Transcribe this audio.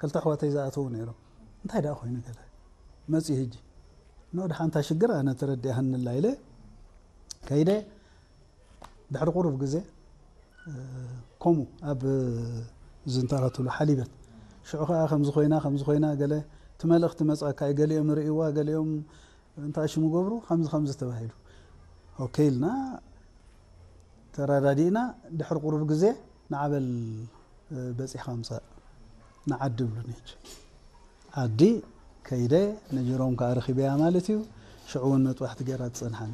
ክልተ ኣሕዋተይ ዝኣተዉ ነይሮም። እንታይ ደኣ ኮይኑ ገለ መፅኡ ሕጂ፣ ኖ፣ ድሓንታ ሽግር ኣነ ተረዲኣሃንላ ኢለ ከይደ። ድሕሪ ቁሩብ ግዜ ከምኡ ኣብ ዝንታራትሉ ሓሊበት ሽዑ ከዓ ከምዚ ኮይና ከምዚ ኮይና ገለ እቲ መልእኽቲ መፅኣካ እዩ። ገሊኦም ርእይዋ፣ ገሊኦም እንታይ ሽሙ ገብሩ፣ ከምዚ ከምዚ ተባሂሉ። ኦኬ ኢልና ተረዳዲእና። ድሕሪ ቁሩብ ግዜ ንዓበል በፂሕካ ምፃእ ንዓዲ ብሉኒ። ሕጂ ዓዲ ከይደ ነጅሮም ከዓ ረኺበያ ማለት እዩ። ሽዑ እውን መጥባሕቲ ገይራ ትፀንሓኒ።